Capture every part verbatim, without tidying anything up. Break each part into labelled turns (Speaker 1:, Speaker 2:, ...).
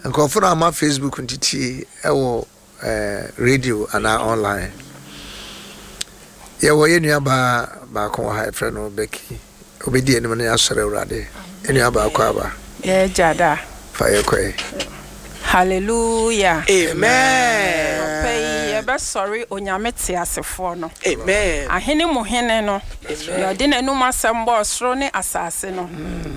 Speaker 1: Nkurɔfo no ama Facebook ntitie ɛwɔ eh, radio anaa online. Yɛwɔ yɛn nua baa baako wɔ ha, yɛfrɛ no Becky. Obɛdi anim no, yɛasɔre Awurade. Yɛn nua baako aba.
Speaker 2: Yɛgya da.
Speaker 1: Fa yɛkɔe.
Speaker 2: Hallelujah.
Speaker 3: Amen.
Speaker 2: Ɔpɛ yi yɛbɛsɔre Onyame te asefoɔ no.
Speaker 3: Amen.
Speaker 2: Ahene mu hene no. Nea ɔde n'anum asɛm bɔɔ soro ne asase no.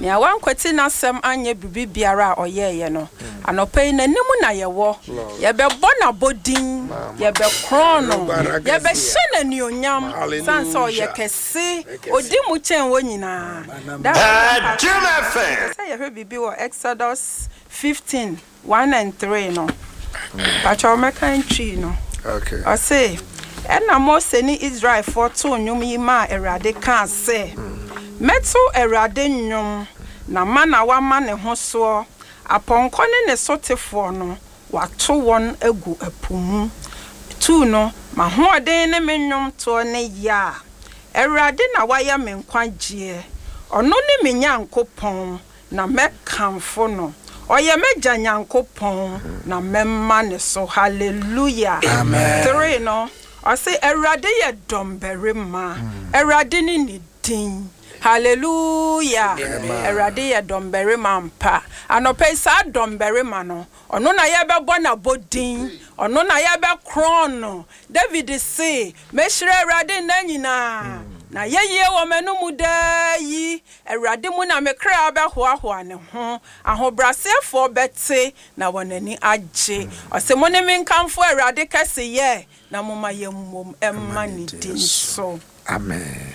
Speaker 2: Nea wankwati n'asɛm anyɛ biribi biara a ɔyɛeɛ no. Anɔpa yi n'anim na yɛwɔ. Yɛbɛbɔ n'abɔdin. Yɛbɛkorɔn no. Yɛbɛhyɛ n'anuonyam. San sɛ ɔyɛ kɛse. Odi mu kyɛn wɔn nyinaa. Da
Speaker 4: Jim F M.
Speaker 2: sɛ yɛhwɛ biribi wɔ Exodus fifteen one and three no. Pakyɛ ɔmɛka ntwi no.
Speaker 1: Okay.
Speaker 2: Ɔse ɛna Mose ne Israelfoɔ too nnwom yi maa Awurade kaa sɛ, "Mɛto Awurade nnwom na ma na wama ne ho soɔ. Apɔnkɔ ne ne sotefoɔ no, wato wɔn agu ɛpo mu." Two no, "M'ahoɔden ne me nnwomtoɔ ne yɛ a Awurade na wayɛ me nkwagyeɛ. Ɔno ne me Nyankopɔn na mɛkamfo no. Ɔyɛ m'agya Nyankopɔn na mɛma ne so." Hallelujah.
Speaker 1: Amen.
Speaker 2: Three no, ɔse Awurade yɛ dɔmbarima. Awurade ne ne din. Hallelujah. Awurade yɛ dɔmbarima mpa. Anɔpa yi saa dɔmbarima no, ɔno na yɛbɛbɔ n'abɔdin. Ɔno na yɛbɛkorɔn no. David se, "Mɛhyira Awurade nna nyinaa. Na yɛyie wɔ m'anomu daa yi. Awurade mu na me kra bɛhoahoa ne ho. Ahobrɛaseɛfoɔ bɛte na wɔn ani agye." Ɔsɛ mo ne me nkamfo Awurade kɛseyɛ na momma yɛmmom ɛmma ne din so.
Speaker 1: Amen.